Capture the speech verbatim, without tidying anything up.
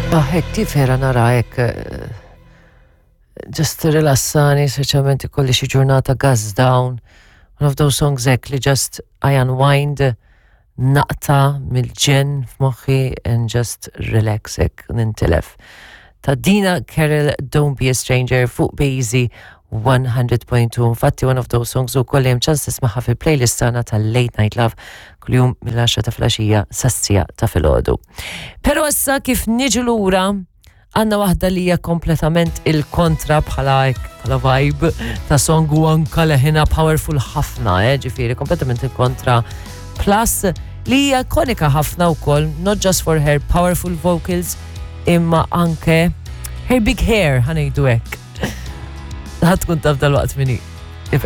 Ah, hekk kif era nara hekk eh, just rilassani, speċjalment ikolli xi ġurnata gas down. One of those songs hekk li just I unwind, naqta' mill-ġenn f'moħħi and just relax hekk nintilef. Ta' Dina Carroll, "Don't Be a Stranger" fuq Bejzi one hundred point two. Infatti one of those songs ukoll hemm ċans tismaħħa fil-playlist tagħna tal-Late Night Love kuljum mill-għaxra ta' filgħaxija sas-siegħa ta' filgħodu. Però issa kif niġu lura għandna waħda li hija kompletament il-kontra bħala bħala vibe ta' song u anka leħinha powerful ħafna, eh, ġifieri kompletament il-kontra. Plus li hija ikonika ħafna wkoll, not just for her powerful vocals, imma anke her big hair, ħa ngħidu hekk. Ħa tkun taf dalwaqt min hi. If